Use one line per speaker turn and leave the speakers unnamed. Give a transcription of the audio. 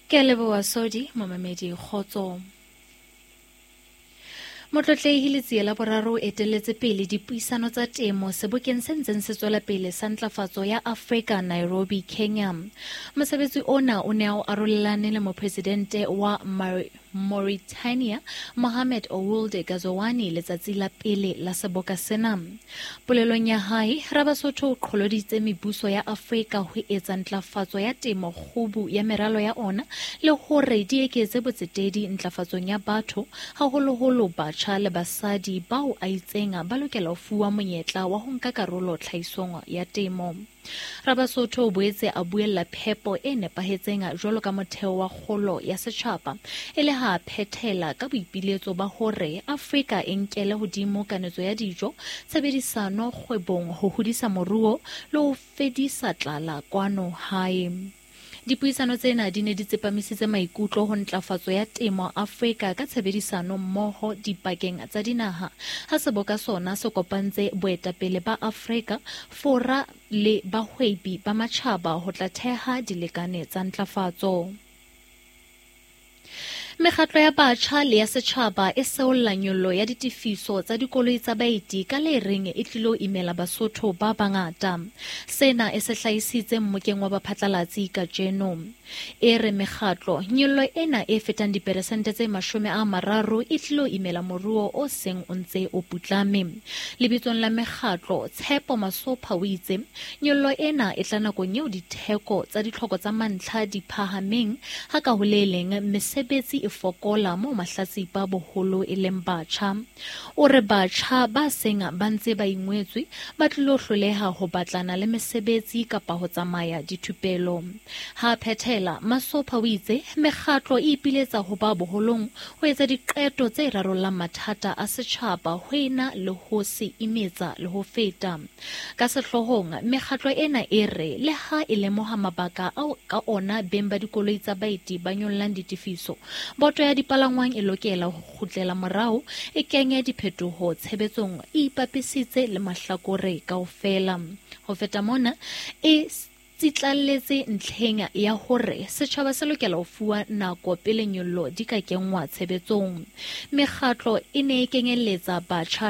Ke a leboha Sodi, momamedi kgotso. Motlotlehi Letsie la Boraro o etelletse pele dipuisano tsa temo sebokeng se ntseng se tswela pele sa ntlafatso ya Afrika Nairobi, Kenya. Mosebetsi ona o ne a o arolelane le mopresidente wa Mauritania Mohamed Ould Ghazouani letsatsi la pele la seboka sena. Polelong ya hae, Rabasotho o qholoditse mebuso ya Afrika ho etsa ntlafatso ya temo kgubu ya meralo ya ona le hore di eketse botsetedi ntlafatsong ya batho, haholoholo batjha le basadi bao a itseng ba lokela ho fuwa monyetla wa ho nka karolo tlhahisong ya temo. Rabasotho o boetse a buella phepo e nepahetseng jwalo ka motheo wa kgolo ya setjhaba, e le ha a phethela ka boipiletso ba hore Afrika e nkele hodimo kanetso ya dijo, tshebedisano kgwebong ho hodisa moruo le ho fedisa tlala kwano hae. Dipuisano tsena di ne di tsepamisitse maikutlo ho ntlafatso ya temo Afrika ka tshebedisano mmoho dipakeng tsa dinaha, ha seboka sona se kopantse boetapele ba Afrika, Fora le bahwebi ba matjhaba ho tla theha dilekane tsa ntlafatso. Mekgatlo ya batjha le ya setjhaba e seolla nyollo ya ditefiso tsa dikoloi tsa baeti ka le reng e tlilo imela Basotho ba bangata. Sena e se hlahisitse mmokeng wa baphatlalatsi kajeno. E re mekgatlo, nyollo ena e fetang diperesente tse 30 e tlilo imela moruo o seng o ntse o putlame. Lebitsong la mekgatlo, Tshepo Masopha o itse, Nyollo ena e tla nakong eo ditheko tsa ditlhoko tsa mantlha di phahameng, ha ka ho le leng mesebetsi e fokola moo mahlatsipa boholo e leng batjha. O re batjha ba seng ba ntse ba ingwetswe ba tlilo hloleha ho batlana le mesebetsi kapa ho tsamaya dithupelo. Ha a phethela, Masopha o itse mekgatlo e ipiletsa ho ba boholong ho etsa diqeto tse rarollang mathata a setjhaba ho ena le ho se imetsa le ho feta. Ka sehloohong, mekgatlo ena e re le ha e lemoha mabaka ao ka ona beng ba dikoloi tsa baeti ba nyollang ditefiso, boto ya dipalangwang e lokela ho kgutlela morao e kenye diphetoho tshebetsong e ipapisitse le mahlakore kaofela. Ho feta mona, e tsitlalletse ntlheng ya hore setjhaba se lokela ho fuwa nako pele nyollo di ka kenngwa tshebetsong. Mekgatlo e ne e kenyelletsa batjha.